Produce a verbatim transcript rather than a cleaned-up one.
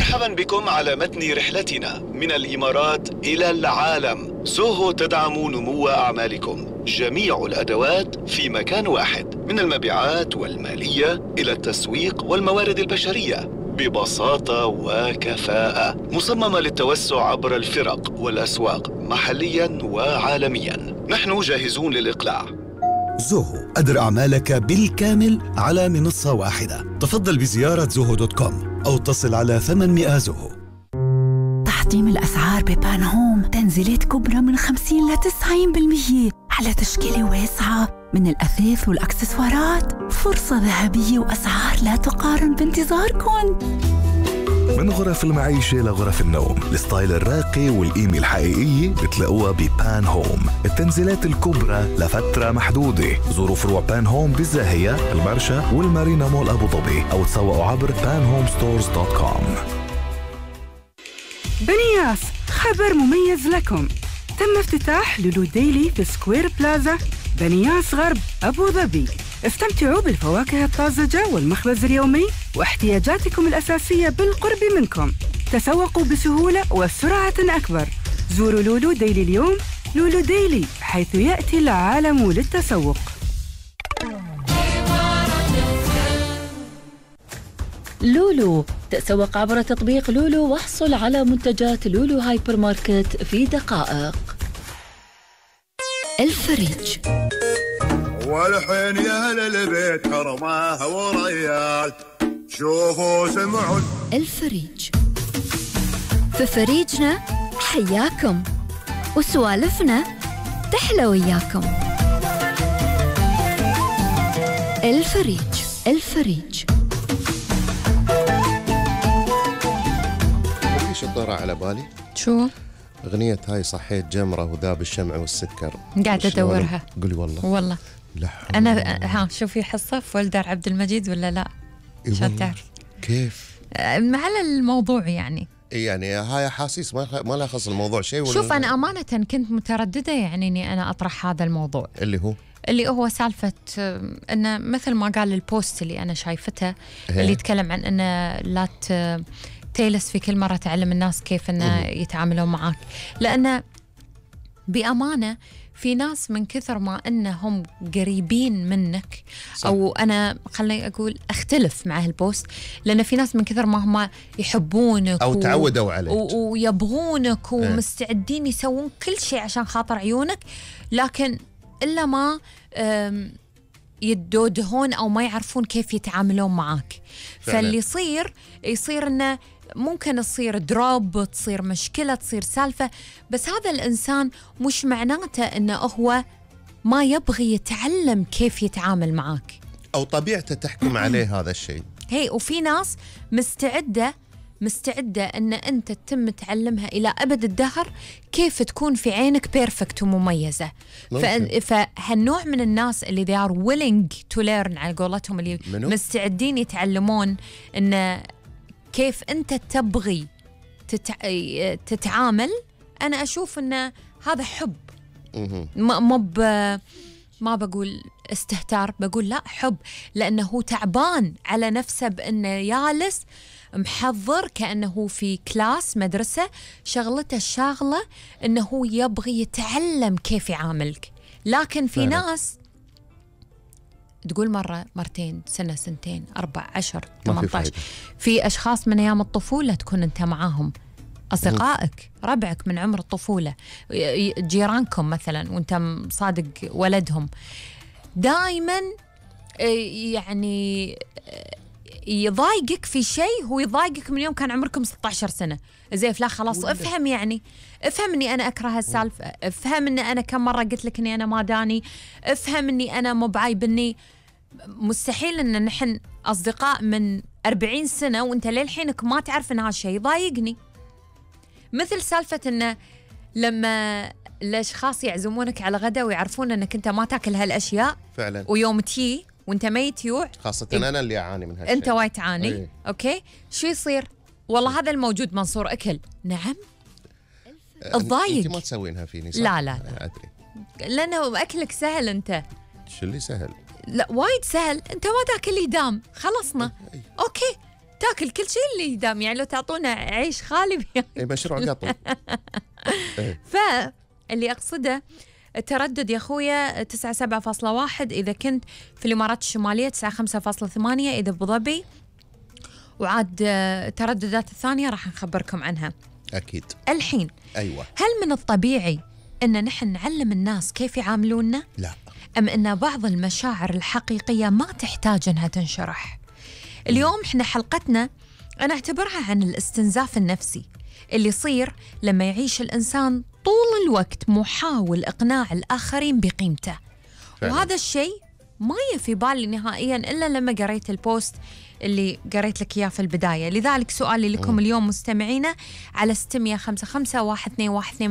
مرحبا بكم على متن رحلتنا من الإمارات إلى العالم. زوهو تدعم نمو أعمالكم، جميع الأدوات في مكان واحد، من المبيعات والمالية إلى التسويق والموارد البشرية، ببساطة وكفاءة، مصممة للتوسع عبر الفرق والأسواق محليا وعالميا. نحن جاهزون للإقلاع. زوهو، أدر أعمالك بالكامل على منصة واحدة. تفضل بزيارة زوهو دوت كوم أو اتصل على ثمانمئة زوهو. تحطيم الأسعار ببان هوم، تنزيلات كبرى من خمسين إلى تسعين بالمئة على تشكيلة واسعة من الأثاث والأكسسوارات. فرصة ذهبية وأسعار لا تقارن بانتظاركم. من غرف المعيشة لغرف النوم، الستايل الراقي والقيمة الحقيقية بتلاقوها ببان هوم. التنزيلات الكبرى لفترة محدودة. زوروا فروع بان هوم بالزاهية، المرشا والمارينا مول أبو ظبي، أو تسوقوا عبر بان هوم ستورز دوت كوم. بنياس، خبر مميز لكم. تم افتتاح لولو ديلي في سكوير بلازا بنياس غرب أبو ظبي. استمتعوا بالفواكه الطازجة والمخبز اليومي واحتياجاتكم الأساسية بالقرب منكم. تسوقوا بسهولة وسرعة أكبر. زوروا لولو ديلي اليوم. لولو ديلي، حيث يأتي العالم للتسوق. لولو، تسوق عبر تطبيق لولو واحصل على منتجات لولو هايبر ماركت في دقائق. الفريج، والحين يا أهل البيت حرمها وريال، شوفوا سمعوا. الفريج، في فريجنا حياكم وسوالفنا تحلى وياكم. الفريج. الفريج. في شطارة على بالي. شو؟ أغنية هاي صحيت جمرة وذاب الشمع والسكر. قاعدة أدورها. قولي والله. والله. أنا ها شوفي حصة في ولدار عبد المجيد ولا لا؟ شو تعرف؟ كيف؟ على الموضوع يعني. يعني هاي أحاسيس ما ما لها خص الموضوع شيء. شوف أنا أمانة كنت مترددة يعني إني أنا أطرح هذا الموضوع. اللي هو؟ اللي هو سالفة إنه مثل ما قال البوست اللي أنا شايفته اللي يتكلم عن إنه لا تيلس في كل مرة تعلم الناس كيف إنه يتعاملون معاك، لأن بأمانة في ناس من كثر ما أنهم قريبين منك صح. أو أنا خليني أقول أختلف مع هالبوست، لأن في ناس من كثر ما هم يحبونك أو و... تعودوا عليك و... ويبغونك ومستعدين يسوون كل شيء عشان خاطر عيونك، لكن إلا ما يدودهون أو ما يعرفون كيف يتعاملون معك. فعلا. فاللي يصير يصير أنه ممكن تصير دروب، تصير مشكلة، تصير سالفة، بس هذا الإنسان مش معناته أنه هو ما يبغي يتعلم كيف يتعامل معك أو طبيعته تحكم عليه هذا الشيء. هي وفي ناس مستعدة مستعدة أن أنت تتم تعلمها إلى أبد الدهر كيف تكون في عينك بيرفكت ومميزة. فهالنوع من الناس اللي they are willing to learn على قولتهم، اللي منو؟ مستعدين يتعلمون أن كيف أنت تبغي تتع... تتعامل. أنا أشوف أن هذا حب، ما ب... ما بقول استهتار، بقول لا حب، لأنه هو تعبان على نفسه بأنه جالس محضر كأنه في كلاس مدرسة، شغلته الشاغلة أنه هو يبغي يتعلم كيف يعاملك. لكن في فعلا. ناس تقول مرة مرتين سنة سنتين أربع عشر ثمانية عشر. في أشخاص من أيام الطفولة تكون أنت معاهم، أصدقائك ربعك من عمر الطفولة، جيرانكم مثلا وأنت صادق ولدهم، دائما يعني يضايقك في شيء، هو يضايقك من يوم كان عمركم ستة عشر سنة. زي لا خلاص افهم، يعني افهم اني انا اكره هالسالفه، افهم اني انا كم مره قلت لك اني انا ما داني، افهم اني انا مو بعايبني. مستحيل ان نحن اصدقاء من أربعين سنة وانت للحينك ما تعرف ان هالشيء يضايقني. مثل سالفه انه لما الاشخاص يعزمونك على غدا ويعرفون انك انت ما تاكل هالاشياء فعلا، ويوم تي وانت ميت يوع، خاصة إيه؟ أنا اللي أعاني من هالشيء. أنت وايد تعاني. أيه. أوكي، شو يصير؟ والله هذا الموجود منصور أكل. نعم الضايق. أنت ما تسوينها فيني صح؟ لا لا أدري، لأنه أكلك سهل. أنت شو اللي سهل؟ لا وايد سهل، أنت ما تاكل إدام، خلصنا. أيه. أوكي، تاكل ياكل كل شيء اللي يدام، يعني لو تعطونا عيش خالي بياكل. اي مشروع قطو. فاللي أقصده التردد يا أخويا تسعة سبعة فاصلة واحد إذا كنت في الإمارات الشمالية، تسعة خمسة فاصلة ثمانية إذا أبو ظبي، وعاد الترددات الثانية راح نخبركم عنها أكيد. الحين أيوة، هل من الطبيعي أن نحن نعلم الناس كيف يعاملوننا؟ لا. أم أن بعض المشاعر الحقيقية ما تحتاج أنها تنشرح؟ اليوم إحنا حلقتنا أنا أعتبرها عن الاستنزاف النفسي اللي يصير لما يعيش الإنسان طول الوقت محاول إقناع الآخرين بقيمته فعلا. وهذا الشيء ما يفي بالي نهائيا إلا لما قريت البوست اللي قريت لك إياه في البداية. لذلك سؤالي لكم م. اليوم مستمعينا على ستمية خمسة خمسة واحد اثنين واحد اثنين